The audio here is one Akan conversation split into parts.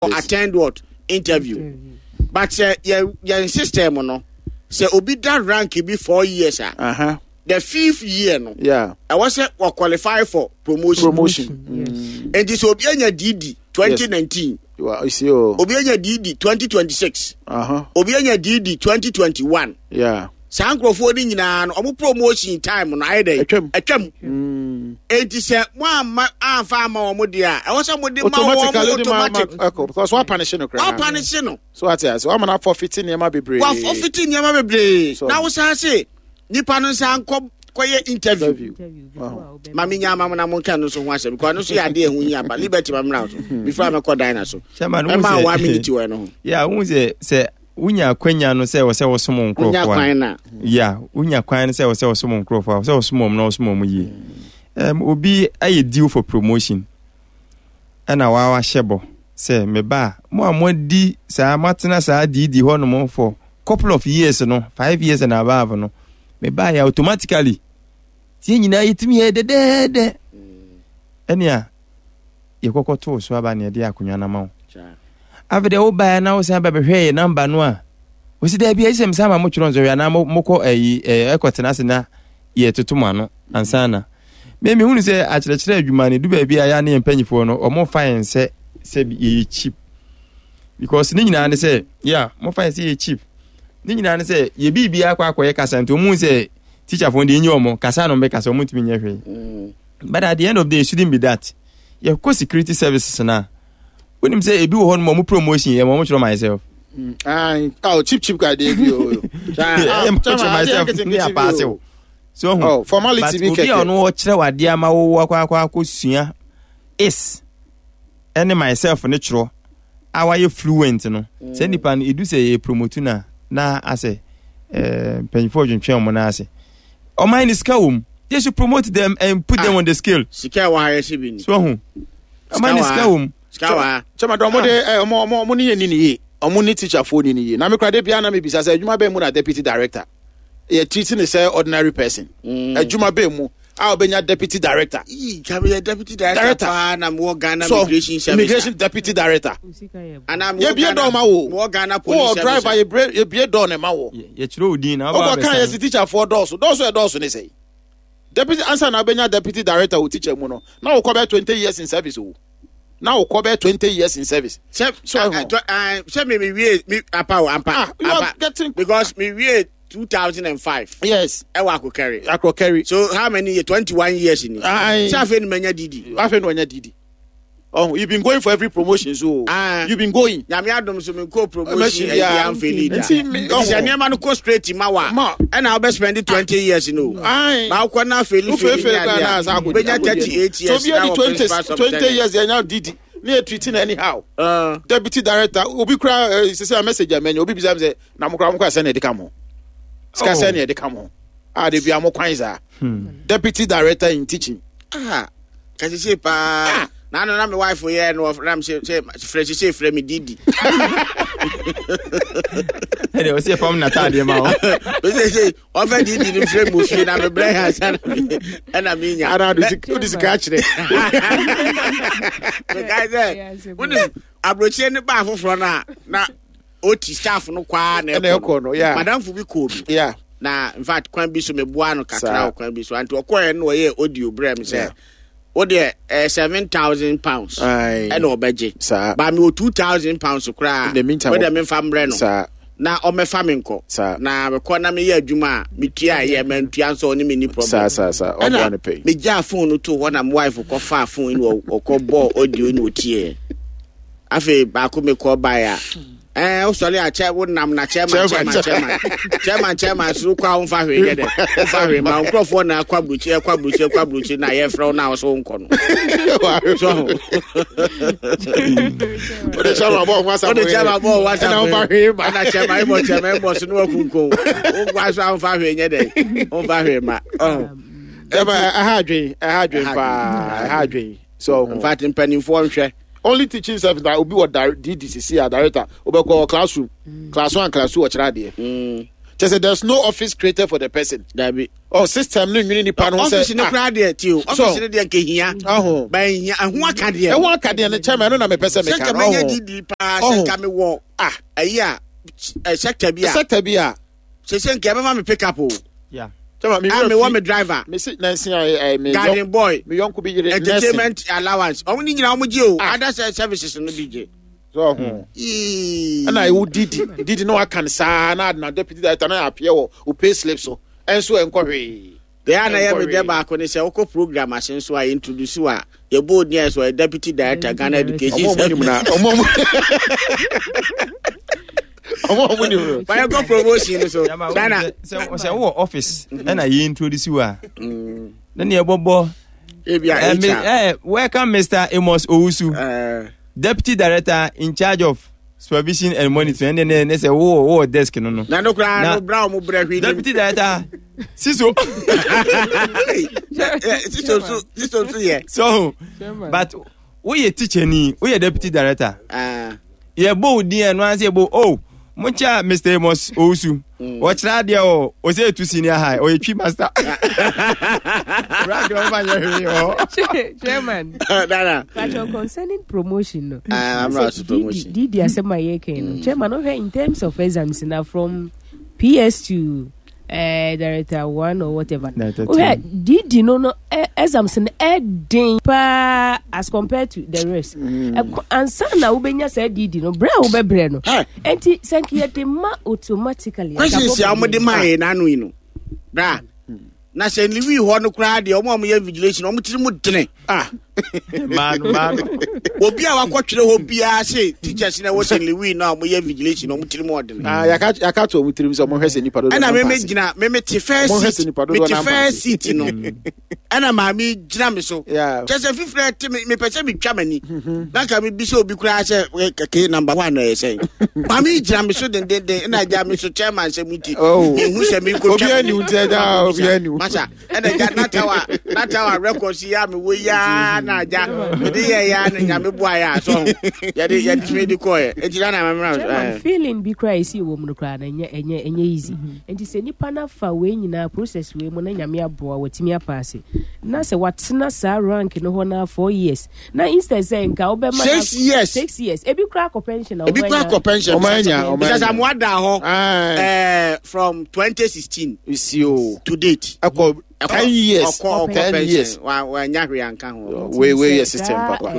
Attend what interview but sɛ yɛn yɛn system no sɛ obi da rank bi 4 years a the fifth year no ɛwɔ sɛ wɔ qualify for promotion. Promotion. Nti sɛ obi anya DD 2019, obi anya DD 2026, obi anya DD 2021, saa nkurɔfoɔ no nyinaa no, ɔmo promotion time no ayɛ dɛ Atwam. Atwam. Enti sɛ mo amma amfa ama wɔn deɛ a, ɛwɔ sɛ mo de ma wɔn automatically de ma automatic. Ɛkɔ because wa punish no koraa. Wa punish no. So ate ase wa ma na forfeit nneɛma bebree. Wa forfeit nneɛma bebree. So- Na wosan se nipa no nsa nkɔ kɔyɛ interview. Interview. Wow. Maame nya ama mo na mo nka no nso ho asɛm because ɛno nso yɛ adeɛ ɛho hia pa. Liberty ma mmra so before a mɛkɔ dina so. Chairman, wohu ɛma sɛ- 1 minute wɔ ɛno ho. Yeah, wohu sɛ wonya akwanya no sɛ wɔ sɛ wosom wonya nkurɔfoɔ a kwan na yeah, wonya kwan no sɛ wɔ sɛ wosom nkurɔfoɔ a, sɛ wosom wɔn na wosom wɔn yie. Obi ayɛ due for promotion ɛna waa wahyɛ bɔ sɛ meba a, mo a moadi saa, moatena saa diidi hɔnom for couple of years no, 5 years and above no, meba yɛ automatically tie nyinaa yɛtumi yɛ dɛdɛɛdɛ ɛnea yɛkɔkɔ too so aba ne yɛde akonnwa no ama wo. Afei deɛ wobaeɛ na wosan ba bɛhwɛ yɛ number no a, wɔsi daabi, ɛyɛ sɛ mesan ma motwerɛ nsɔhwɛ anaa mokɔ ayi ɛkɔtena ase na yɛtoto mo ano ansa na me mehunu sɛ akyerɛkyerɛ adwuma no du baabi a yɛa ne yɛn mpanyifoɔ no ɔmo fa yɛn sɛ yɛyɛ cheap, because ne nyinaa ne sɛ, yeah, mofa yɛn sɛ yɛyɛ cheap. Ne nyinaa ne sɛ yɛ biribiara akɔ akɔyɛ kasa, nti ɔmo hu sɛ teacherfoɔ deɛ ɛnyɛ ɔmo kasa no ɔmo bɛkasa, ɔmo ntumi nyɛ hwee. But at the end of the day, it shouldn't be that. Yɛkɔ security services na wonim sɛ ebi wɔ hɔ nom, ɔmo promotion yɛ ma ɔmo kyerɛ myself. Aye. Oh, cheap cheap guy dey bi o. Ɛyɛ ma kyerɛ myself ne apaase o so ɔho. Oh, formality but bi obi a kɛkɛ. ɔno ɔkyerɛ wadeɛ ama wo akɔ sua is ɛne myself ne twerɛ a wayɛ fluent no sɛ nipa no edu sɛ yɛ promote na na asɛ mpanyinfoɔ dwentwɛn wɔn nan ase. Ɔman ne sika wɔ mu, they should promote them and put them on the scale. Sika ɛwɔ ha yɛhyɛ bi ni. So ɔho ɔman ne sika wɔ mu. Sika wɔ ha. Chairman, ɔmo de ɔmo ne yɛ ni ne yie. Ɔmo ne teacher foɔ ni ne yie. Na me kura de bia na me bisa sɛ adwuma bɛn mu na deputy director yɛ treat ne sɛ ordinary person? Adwuma bɛn mu a ɔbɛnya deputy director? Ii, kabi yɛ deputy director Director. paa na mewɔ Ghana So Immigration Service. Immigration deputy director. Anaa mewɔ Yɛbie Ghana dɔɔ ma wo. Mewɔ Ghana Police Wowɔ Service. driver, yɛbie dɔɔ ne ma wo. Yɛkyerɛ wo din na waba Wokɔ kan abɛsa. yɛsi teacher foɔ dɔɔso dɔɔso, ɛdɔɔso ne sɛ deputy ansa na wobɛnya deputy director wɔ teacher mu no, na wokɔ bɛ 20 years in service o, na wokɔ bɛ 20 years in service. Sɛ So, ah, ɛho. ah, sɛ me wie me apa o ampa. Ah, you are ampa getting because me wie 2005. Ɛwɔ Akokɛri. Akokɛri. So how many years? 21 years ni. Aye. Sɛ afei ni manya DD. Afei na ɔnya DD. Oh, you've been going for every promotion, so Ah. you've been going. Nyame adom so me nkɔ promotion Promotion, ɛyi yeah. amfɛ leader. Nti me- Nti sɛ ɔho. nneɛma no kɔ straight ma wa Ma. ɛna wobɛ spend 20 years no. Aye. Ma wokɔ na fail fail Wofeefee ne koraa na adeɛ asa a akɔdi- wobɛnya akɔdi 38 So years obi na adi wɔ 20 principal 20 superintendent. years yɛnya DD ne yɛ treating anyhow. Deputy director obi kura sisi a message a mɛnya, obi bisa mi sɛ na mo kura mo kura sɛ na yɛde ka mo sika sɛ na yɛde ka mo a de bia mo kwan saa, deputy director in teaching. Ah, kasese paa na ano na me wife yɛ no na me sɛ frɛ sese frɛ me DD. Ɛdeɛ ɔsɛ yɛfam nataadeɛ ma wo. Sese ɔfɛ DD no frɛ mu fie na mebrɛ yɛ ansa na ɛna menya. Ara de sika akyerɛ. Mekae sɛ wonim aburokyire ne baa foforɔ no a na oti staff no kwaa na ɛna ɛkɔ no, yeah. Madamfo bi kɔɔ bi na in fact kwan bi so meboa no kakra Saa. wɔ kwan bi so, anti ɔkɔɛ no ɔyɛ audio brɛ me sɛ wodeɛ £7,000 Aye. ɛna ɔbɛgye Saa. ba mewɔ £2,000 koraa. In the meantime, wode memfa mbrɛ no na ɔmɛfa me nkɔ na mekɔ na meyɛ adwuma a metua yɛ mantua nso ɔne me ni problem. Saa saa saa ɔboa no pɛyi. Megyaa phone no to hɔ na me wife kɔfaa phone yi na ɔkɔ bɔɔ audio na ɔtieɛ. Afei baako mekɔ baeɛ a wosɔre a kyɛ wonam na chairman chairman chairman chairman chairman soro kɔ a womfa hwee nyɛ dɛ, womfa hwee ma wo nkurɔfoɔ na akɔ aburukyi, ɛkɔ aburukyi, ɛkɔ aburukyi na yɛfrɛ wo na wo so wonkɔ no so. Wode chairman bɔ ho asafo. Wode chairman bɔ ho asafo. Ɛna womfa hwee ma. Ɛna chairman ɛbɔ chairman ɛbɔ so ne wakunkum wonkɔ so a womfa hwee nyɛ dɛ, womfa hwee ma ɔho. Ɛma ɛha adwen, ɛha adwen paa, ɛha adwen so. In fact, mpanimfoɔ nhwɛ. Only teaching service na obi wɔ DDCC a director wobɛkɔ classroom, class one, class two, ɔkyerɛ adeɛ. Kyɛ sɛ there's no office created for the person. Dabi. Oh, system no nwene nipa no ho sɛ. Office no koraa deɛ ti o. Office no deɛ nkehia. Ɔho. Ba ehia ɛho aka deɛ. Ɛho aka deɛ no chairman ɛno na mepɛ sɛ meka. Sɛ nka menya didi paa sɛ nka mewɔ ah ɛyi a sector bi a. Sector bi a. Sɛ sɛ nka ɛbɛma me pick up o. Yeah. Chairman mi wura fi. Mewɔ me driver. Me si nansi a me garden boy. Me yɔnko bi yere nursing. Entertainment allowance. Ɔmo ni nyinaa ɔmo gye o. Other services no bi gye. So ɔho. Ɛna ewu didi didi na waka no saa na na deputy director na appear wɔ o pay slip so ɛnso ɛnkɔ hwee. Deɛ a na yɛ me dɛ baako ne sɛ wokɔ program ase nso a introduce a yɛbɔ odin a sɛ ɔyɛ deputy director Ghana Education Service. Ɔmo ɔmo ɔmo nim no. Bayɛ kɔ promotion no so. Dana. Sɛ wowɔ office ɛna yɛ introduce a na ne yɛbɔbɔ. Ebi a HR. Welcome Mr. Amos Owusu. Deputy director in charge of supervision and monitoring ɛnɛ ne sɛ wowɔ wowɔ desk no no. Na no koraa no bra wɔn brɛ hwee. Deputy director siso. Siso so siso so yɛ. So but woyɛ teacher ni woyɛ deputy director. Uh. Yɛ bɔ wo din ɛno anse yɛ bɔ oh mo nkyɛn Mr. Amos Owusu. Ɔkyerɛ adeɛ o ɔsɛ etu senior high ɔyɛ twi master. Rank na ɔba nyɛ hwee hɔ. Chairman. Dara. Pacho concerning promotion no. Ah, I'm not promotion. Didi asɛm a yɛka no. Chairman, wohwɛ in terms of exams na from PS to director one or whatever. Wohwɛ Didi no exams no ɛden paa as compared to the rest. Ansa na wobɛnya saa Didi no, brɛ a wobɛbrɛ no. Enti sɛ nka yɛde ma automatically. Questions a wɔde maa yɛn n'ano yi no. Bra. Na sɛ Lewi hɔ no koraa deɛ wɔn a wɔyɛ invigilation wɔn tiri mu dene. Ah. Maano maano. Obi a wakɔtwerɛ hɔ biara se teachers na ɛwɔ sɛ Lewi no a wɔyɛ invigilation wɔn tiri mu ɔdene. Ah, yaka yaka to wɔn tirim sɛ wɔn hwɛ sɛ nipa dodoɔ Ɛna meme gyina meme te first seat me te first seat no. Ɛna maame gyina me so. Kyɛ sɛ fifiri ɛte me mepɛ sɛ metwa m'ani. Na nka mebi sɛ obi koraa sɛ kɛkɛ number one na ɛyɛ sɛn. Maame gyina me so dendenden ɛna agya me so chairman sɛ mu ti. Mehu sɛ menkɔtwa Obi ani wo nti agya obi ani wo. Masa ɛna agya natawa natawa records yi a mewɔ yi a na agya mede yɛ ya na nyame boa yɛ a so yɛde yɛtumi de kɔɛ. Enti na na memra. Chairman feeling bi koraa esi wɔ mu no koraa na ɛnyɛ ɛnyɛ ɛnyɛ easy. Nti sɛ nipa no afa wei nyinaa process wei mu na nyame aboa watumi apaase na sɛ watena saa rank no hɔ na 4 years na instead sɛ nka wobɛma 6 years. 6 years, ebi koraa akɔ pension na ebi koraa akɔ pension. Ɔmo anya, ɔmo because anya. Amoa da hɔ from 2016 Isi o. to date. Ɛkɔ 10 years. Ɔkɔ 10 pension years. wa wanya hwee anka ho. Wei wei yɛ system papa.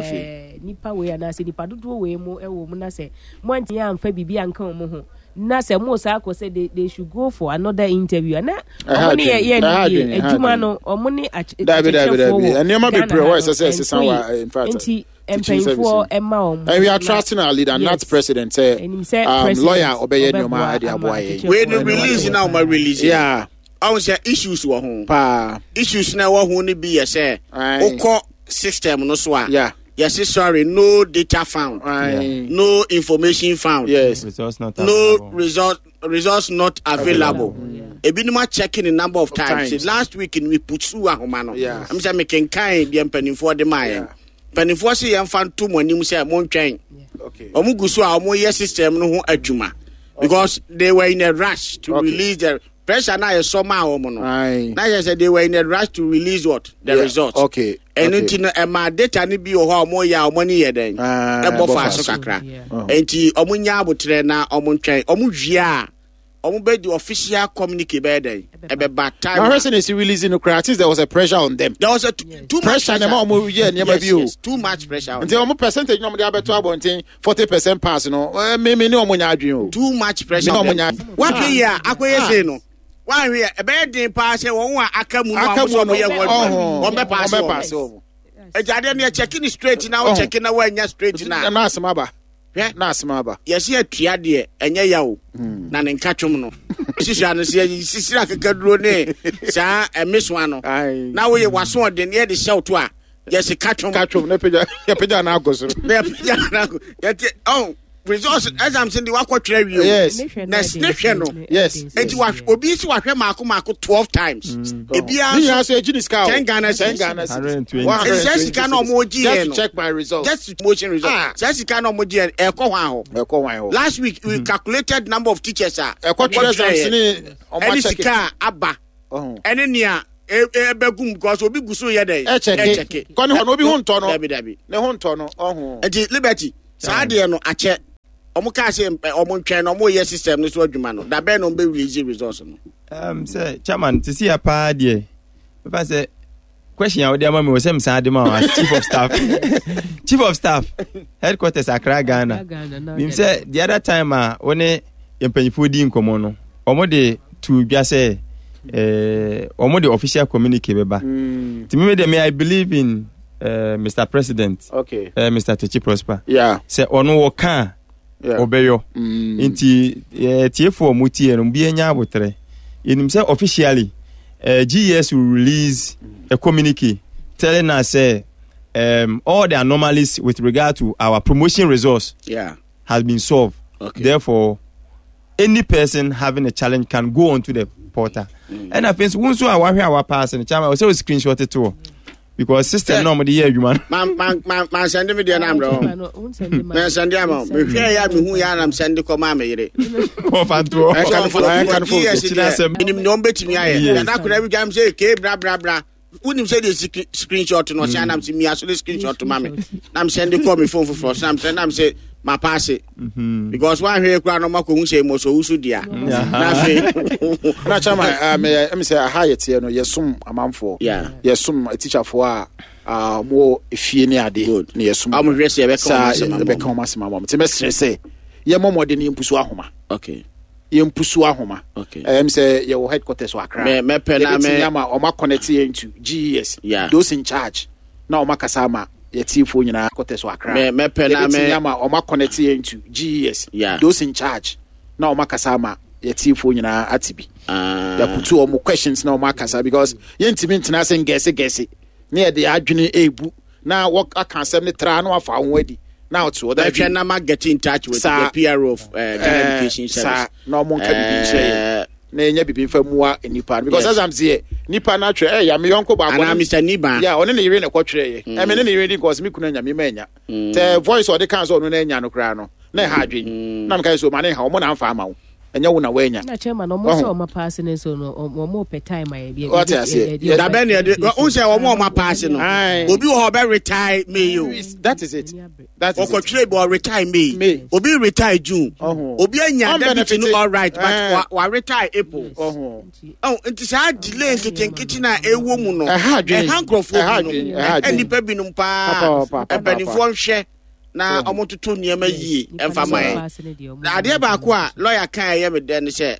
Nipa wei anaasɛ nipa dodoɔ wei mu ɛwɔ mu na sɛ mo antumi amfa biribi anka wɔn ho na sɛ mo saa akɔ sɛ they should go for another interview ana Ɛha ɔmo ne yɛ adwene, yɛ ɛha ne adwene, yie ɛha adwuma adwene. no ɔmo ne Dabi, dabi, akyerɛkyerɛfoɔ dabi. wɔ Nneɛma Ghana bebree ha wɔ ɛsɛ no, sɛ ɛsesa ɛnkɔ wɔ, yie. in fact, Nti teaching service. mpanyinfoɔ ɛma wɔn And we are trusting our leader, Yes. not president. Sɛ, Ɛnim sɛ president lawyer ɔbɛyɛ nneɛma ɔbɛboa ɛde ama aboa yɛn. akyerɛkyerɛfoɔ Wei no no release wɔn na ɔma release. Ɔhu sɛ issues wɔ ho. Paa. Issues na ɛwɔ ho no bi yɛ sɛ Aye. wokɔ system no so a yɛse sorry, no data found. Aye. No information found. Results not No available. Results not available. Ebinom akyɛke ne number of times. Times. Last week no me pursue ahoma no. Ɛm sɛ mekenkan deɛ mpanimfoɔ de maa yɛn. Mpanimfoɔ se yɛmfa nto mo anim sɛ montwɛn. Ɔmo gu so a ɔmo yɛ system no ho adwuma because they were in a rush to release the pressure na yɛ sɔ maa wɔn no. Aye. Na yɛ sɛ they were in a rush to release what the result. Ɛno nti no ɛma data no bi wɔ hɔ a ɔmo yɛ a ɔmo ani yɛ dɛn Ah, ɛbɔ ɛbɔ fa fa so so. kakra. Nti ɔmo nya abotrɛ na ɔmo ntwɛn, ɔmo wie a ɔmo bɛ di official communique bɛyɛ dɛn ɛbɛba time. Na hwɛ sɛ na esi release no koraa, at least there was a pressure on them. There was a too much Pressure na ɛma ɔmo yɛ nneɛma Yes, bi o. yes, too much pressure on Nti them. ɔmo percentage na ɔmo de abɛto abɔnten 40% pass no, me ne ɔmo nya adwene o. Too much pressure Me on na ɔmo them. nya. Wahwɛ yi a akɔyɛ sei no, wahwɛ a ɛbɛyɛ den paa sɛ wɔn a aka mu no a Aka wɔn mu sɛ no, wɔn yɛ wɔn adwuma ɔho. wɔn bɛ paase Wɔn bɛ wɔn. paase wɔn. Ɛgya adeɛ no yɛ kyɛke ne straight na wo Ɔho. kyɛke na wɔanya straight na Na asɛm aba. Hwɛ. Na asɛm aba. Yɛsi atua deɛ ɛnyɛ ya o na ne nka twom no sisua no sɛ sisira akekaduro ne saa ɛmesoa no Aye. na woyɛ waso ɔden ne yɛde hyɛ wo to a yɛsi ka twom. Ka twom na pagya yɛpagya na akɔ soro. Na yɛpagya na akɔ yɛte ɔn. Results exams de wakɔtwerɛ wie o. Yes. Na ne hwɛ no. Yes. Eti wa obi si wahwɛ maako maako 12 times. Ebiara Ne nyinaa nso so egyi ne sika o. 10 Ghana 10 cedis. Ghana cedis. 120. Eti sɛ sika na ɔmo gye Just yɛ to no. check my results. Just to motion result. Ah. Sɛ sika na ɔmo gye yɛ no ɛkɔ hwan hɔ. Ɛkɔ hwan hɔ. Last week we calculated number of teachers a. Ɛkɔ twerɛ exams ne ɔmo Ɛne akyɛke. sika a aba. Ɔho. Ɛne nea ɛbɛgum because obi gu so yɛ dɛ. Ɛkyɛke. Kɔ ne hɔ no obi ho ntɔ no. Dabi dabi. Ne ho ntɔ no. Ɔho. Nti Liberty saa deɛ no akyɛ ɔmo kaa sɛ ɔmo ntwɛn na ɔmo yɛ system no so adwuma no dabɛn na ɔmo bɛ release results no. Sɛ chairman te si ya paa deɛ mefa sɛ question a wode ama me wɔ sɛ mesan de ma wo as chief of staff, chief of staff, headquarters, Accra, Ghana. Nim sɛ the other time a wo ne mpanyinfoɔ di nkɔmmɔ no, ɔmo de to dwa sɛ ɔmo de official communique bɛba. Nti meme deɛ me, I believe in Mr President, Mr Techi Prosper, sɛ ɔno wɔka a ɔbɛyɔ. Nti tiefoɔ a ɔmo tie no, bi anya abotrɛ. Yɛnim sɛ officially GES will release a communique telling us sɛ all the anomalies with regard to our promotion results has been solved. Therefore, any person having a challenge can go onto the portal. Ɛna afei nso, wo nso a wahwɛ a wapaase no, chairman, ɔsɛ o screenshot to hɔ because system na ɔmo de yɛ adwuma no. Ma sɛnde me deɛ no ambrɛ hɔ. Ma sɛnde ama wo. Mehwɛ yɛ a mehu yɛ anam sɛnde kɔ maa me yere. Wɔfa ntoɔ. Menim nea ɔmbɛtumi ayɛ. Dada akwadaa bi dwam sɛ kee bra bra bra. Wonim sɛ deɛ screenshot no ɔsɛ anam sɛ mia so de screenshot ma me. Nam sɛnde kɔ me phone foforɔ so nam sɛ nam sɛ ma paase. Because woahwɛ koraa no ɔmakɔhu sɛ mmɔ so wo so dua. Na afei. Na chairman, me ɛmi sɛ aha yɛ teɛ no, yɛsom amanfoɔ. Yɛsom teacherfoɔ a wɔwɔ efie ne ade. Good. Na yɛsom. Ɔmo hwɛ sɛ yɛbɛka wɔn Saa asɛm ama yɛbɛka wɔn. wɔn asɛm ama wɔn. Nti mɛsrɛ sɛ yɛmmɔ mmɔden na yɛmpusu ahoma. Yɛmpusu ahoma. Ɛm sɛ yɛwɔ headquarters wɔ Accra. Mɛpɛ na Yɛbɛtumi ama ɔmo aconnect yɛn to GES. Those in charge na ɔmo akasa ama yɛtiefoɔ nyinaa headquarters wɔ Accra. Mɛpɛ na Yɛbɛtumi ama ɔmo aconnect yɛn to GES. Those in charge na ɔmo akasa ama yɛtiefoɔ nyinaa ate bi. Yɛaputu ɔmo questions na ɔmo akasa because yɛntumi ntena ase ngɛse gɛse ne yɛde adwene ebu na wɔaka asɛm ne tra na wafa ho adi na ɔte hɔ. Mɛhwɛ na ma get in touch with the PRO of Ghana Education Service. Saa na ɔmo nka bibi nkyerɛ yɛn na yɛnya bibi nfa mua nipa no because exams yɛ nipa no atwerɛ ɛyɛ me yɔnko baako Anaa Mr Niba. Yeah, ɔne ne yere na ɛkɔtwerɛ yɛ. Ɛmi ne ne yere di nkɔsi mi kunu anya mi ma anya. Tɛ voice ɔde kan sɛ ɔno na anya no koraa no na ɛha adwene. Na meka sɛ ɔma ne ha ɔmo na nfa ama wo. Ɛnyɛ wo na woanya. Na chairman, ɔmo sɛ ɔmo apaase ne nso no, ɔmo pɛ time a yɛde. Wate aseɛ. Yes. Dabɛ ne yɛde, wo sɛ ɔmo ɔmo apaase no. Obi wɔ hɔ ɔbɛ retire May o. That is it. That is it. Ɔkɔtwerɛ bi ɔretire May. May. Obi retire June. Ɔho. Obi anya deputy no Unbenefited. all right, but wa retire April. Ɔho. Oh, nti saa delay nketenkete na ɛwɔ mu no. Ɛha adwene. Ɛha nkurɔfoɔ Ɛha binom. adwene. Ɛha Ɛha adwene. nnipa binom paa. Papa, papa, papa. Mpanimfoɔ nhwɛ na ɔmo toto nneɛma yie ɛmfa ma yɛn. Na adeɛ baako a lawyer kan ɛyɛ me dɛ ne sɛ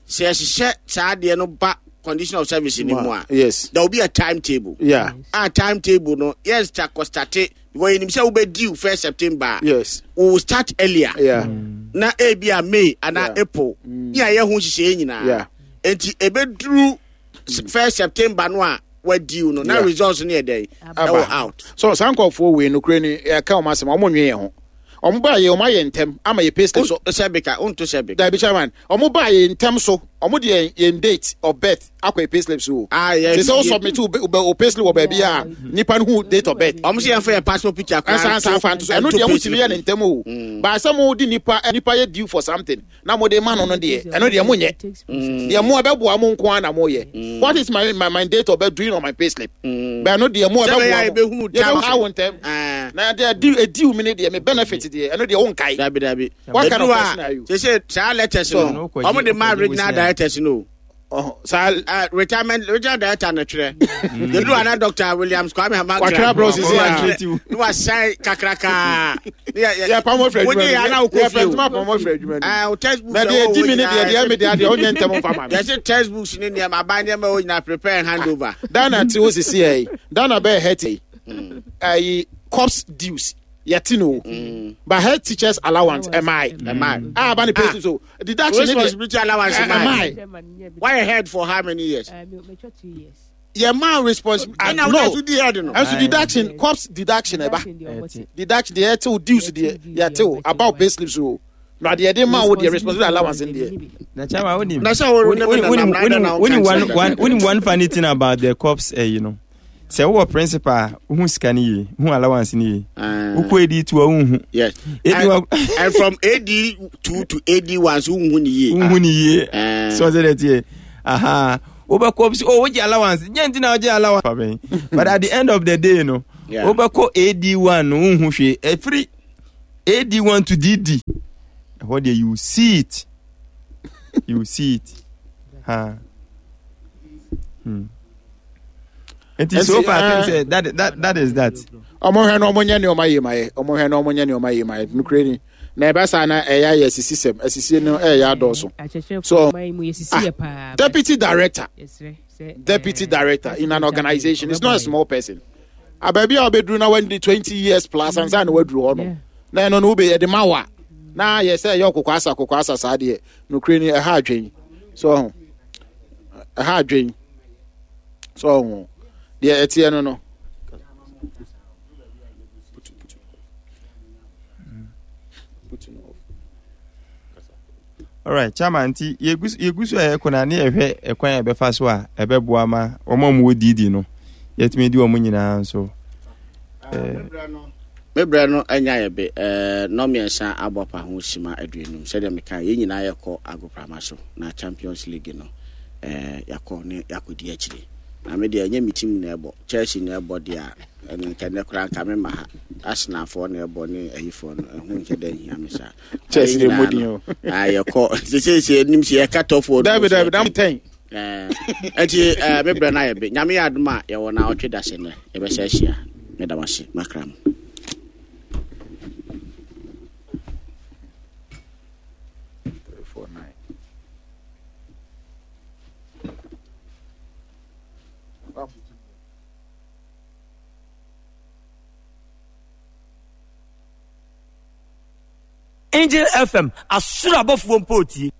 sɛ yɛhyehyɛ saa adeɛ no ba condition of service ni mu a, there will be a timetable. A timetable no, yes, ta kɔstate because yɛnim sɛ wobɛdi 1st September. We will start earlier. Na ebi a May anaa April ne a yɛ ho nhyehyɛeɛ nyinaa. Nti ebeduru 1st September no a wadiw no na results no yɛ dɛn ɛwɔ out. So saa nkɔfoɔ wei nokura ni, yɛka wɔn asɛm, wɔn nwe yɛn ho. Wɔn baa yɛ, wɔn ayɛ ntɛm ama yɛ pay slip so. Sɛ bika wonto sɛ bika. Dabi chairman, wɔn baa yɛ ntɛm so, wɔn de yɛn date of birth akɔ yɛ pay slip so o. Ah, yɛ Te sɛ o submit o pay slip wɔ baabi a nipa no hu date of birth. Wɔn sɛ yɛn fɛ yɛ passport picture koraa. Ɛnsa nsa nfa nto so, ɛno deɛ mo tumi yɛ ne ntɛm o. Baasa mo di nipa yɛ due for something na mo de ma no no deɛ, ɛno deɛ mo nyɛ. Deɛ mo ɛbɛboa mo nko ara na mo yɛ. What is my date of birth doing on my pay slip? Bɛn no deɛ mo Sɛ bɛyɛ a ɛbɛboa mo. yɛbɛhunu time. Yɛbɛhu awo ntɛm. Na deɛ edi mi ne deɛ me benefit deɛ, ɛno deɛ wo nkae. Dabi dabi. What kind of Edu person a are you? sese saa letters So, no, ɔmo de ma ɔkɔgye regional wosia. directors no. Ɔhɔ, saa Retirement regional director na twerɛ. Yɛdu ana Dr. Williams Kwame Hamakra. Watwerɛ abrɛ wo sisi a. Ne wasan kakraka. Ne Yɛ pam ofiri adwuma Wogye yɛ ana wokɔ Yɛ fie o. pɛntuma pam ofiri adwuma no. Ah, wo textbooks Na deɛ ɛwɔ edi hɔ mi ne deɛ nyinaa, deɛ mi deɛ deɛ ɔnyɛ ntɛm nfa ma mi. Yɛse textbooks ne nneɛma, aban nneɛma ɛwɔ nyinaa prepare and hand over. Dana te hɔ sisi yɛ yi. Dana bɛyɛ head yi. Ayi corps dues yɛte no o. But head teachers allowance ɛmae. Ɛmae. A ba ne pay slip so deduction ne deɛ Responsibility allowance ɛmae. ɛmae. Why head for how many years? 2 years. Yɛ maa responsibility. Ɛna No. wona so di head no. Ɛnso Aye. deduction, corps deduction ɛba. Deduction deɛ ɔbɔte. Deduction deɛ ɛtew dues deɛ yɛtew about pay slips o. Na deɛ ɛde ma wo deɛ responsibility allowance deɛ. Na chairman, wonim. Na sɛ wo ne me nanam na adɛn na wonka nkyerɛ me? Wonim one funny thing about the cops eh, you know. Sɛ wowɔ principal a, wohu sika no yie, wohu allowance no yie. Ah. Wokɔ edi to a wonhu. Yes. Edi And, wa- and from AD2 to AD1 so wonhu ne yie. Wonhu ne yie. Eh. So ɔsɛ dɛ tie. Aha. Wobɛkɔ bi sɛ, oh, wogye allowance. Nyɛ nti na wogye allowance. Pa bɛn. But at the end of the day no, Yeah. wobɛkɔ AD1 no wonhu hwee. Ɛfiri AD1 to DD. Ɛhɔ deɛ you see it. You see it. Ha. Nti so far I think say that is that. Ɔmo hwɛ no ɔmo nyɛ nneɛma yie ma yɛ. Ɔmo hwɛ no ɔmo nyɛ nneɛma yie ma yɛ. Nukuri ni. Na ɛbɛ saa na ɛyɛ ayɛ asisi sɛm. Asisie no ɛyɛ adɔɔso. Akyerɛkyerɛfoɔ So, man mu yɛsisi ah, yɛ paa. Deputy director. Yɛsrɛ sɛ, Deputy director in an organization. It's not a ɔbɛboa yɛn. small person. Abaabi a ɔbɛduru na wadi 20 years plus ansa na waduru hɔ no. Yeah. Na ɛno no wobɛ yɛde ma wa. Na yɛ sɛ ɛyɛ ɔkokɔ asa kɔkɔ asa saa deɛ. Nukuri ni ɛha adwen. So ɔho. Ɛha adwen. So ɔho. Deɛ ɛteɛ no no. Alright, chairman, nti yɛgu so a yɛkɔ na ne yɛhwɛ ɛkwan a yɛbɛfa so a ɛbɛboa ma wɔn a wɔwɔ DD no yɛtumi di wɔn nyinaa nso. Me berɛ no anya yɛ be nnɔmmiɛnsa abɔ pa ho sima 50 sɛdeɛ meka yɛn nyinaa yɛkɔ agoprama so na Champions League no yɛakɔ ne yɛakɔdi akyire. Na me deɛ ɛnyɛ me team na ɛbɔ, Chelsea na ɛbɔ deɛ a ɛno nka nnɛ koraa nka mema ha. Arsenalfoɔ na ɛbɔ ne ayifoɔ no ɛho nkyɛ dɛ nhia me saa. Chelsea Yɛn de mmɔ nyinaa din no, o. yɛkɔ seseesei nim sɛ yɛka tɔfoɔ no mu Dabi sɛ dabi yɛka dam 10. Nti me berɛ no ayɛ be. Nyame yɛ adom a yɛwɔ na ɔtwe da sɛ nnɛ yɛbɛsɛ ahyia. Meda mo ase makra mo. 3, 4, 9. Angel FM, asoro abɔfoɔ mpo tie.